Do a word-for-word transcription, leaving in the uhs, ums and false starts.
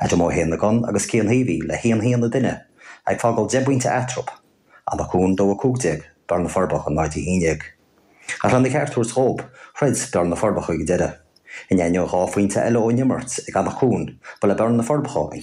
Adam Ó hÉanagáin agus Cian Heavey le haon haon an duine, ag fágáil deich bpointe eatarthu, Eanach Dúin dó a cúig déag, Beár na Forbacha náid a haon déag. Ach lena cheart a thabhairt dhób, throid Beár na Forbacha ag deireadh. In ainneoin dhá phointe eile ón imirt ag Eanach Dúin, ba le Beár na Forbacha an